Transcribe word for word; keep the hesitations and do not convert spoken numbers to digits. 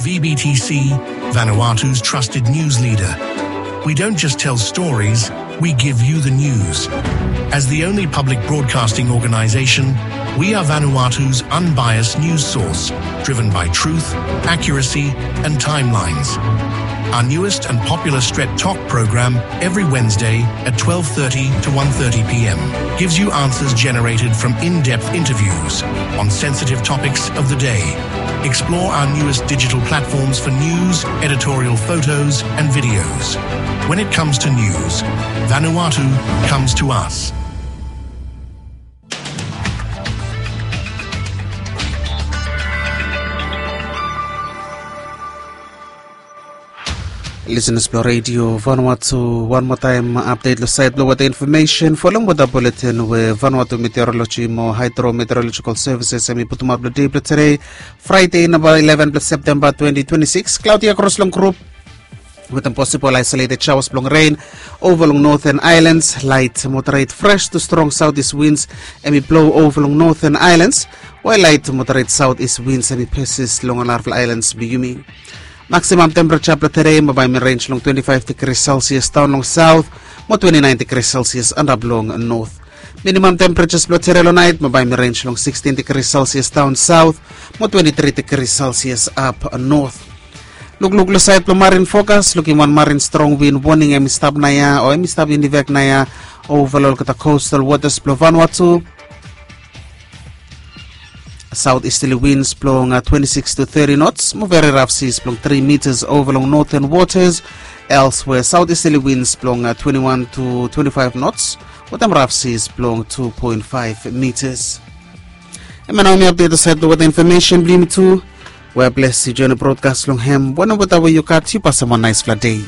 V B T C, Vanuatu's trusted news leader. We don't just tell stories, we give you the news. As the only public broadcasting organization, we are Vanuatu's unbiased news source, driven by truth, accuracy, and timelines. Our newest and popular Stret Talk program every Wednesday at twelve thirty to one thirty p m gives you answers generated from in-depth interviews on sensitive topics of the day. Explore our newest digital platforms for news, editorial photos, and videos. When it comes to news, Vanuatu comes to us. Listeners blong Radio Vanuatu, wan moa taem update long sait blong weta infomesen. Folem weta bulletin we Vanuatu Meteorology mo Hydrometeorological Services hemi putumaot blong dei blong tede, Friday, namba eleven blong September twenty twenty-six. Cloudy across long group wetem possible isolated showers blong rain ova long Northern Islands. Light moderate fresh to strong southeast winds hemi blow ova long Northern Islands, while light moderate southeast winds hemi persist long ol arafala islands blong yumi. Maximum temperature blong tede mo bae hemi range long twenty-five degrees Celsius daon long south mo twenty-nine degrees Celsius antap long north. Minimum temperatures blong tede long nait mo bae hemi range long sixteen degrees Celsius daon south mo twenty-three degrees Celsius ap north. Lukluk long sait blong marine forecast, lukim wan marine strong wind warning hemi stap naoia o hemi stap in effect naoia ova long olgeta coastal waters blong Vanuatu. Southeasterly winds blong twenty-six to thirty knots mo very rough seas blong three meters ova long northern waters. Elsewhere, southeasterly winds blong twenty-one to twenty-five knots wetem rough seas blong two point five meters. Hemia nao hemi update long sait blong weta infomesen blong yumi tu. We bless yu join broadcast long hem. Wanem weta we yu gat, yu pasem wan naesfala dei.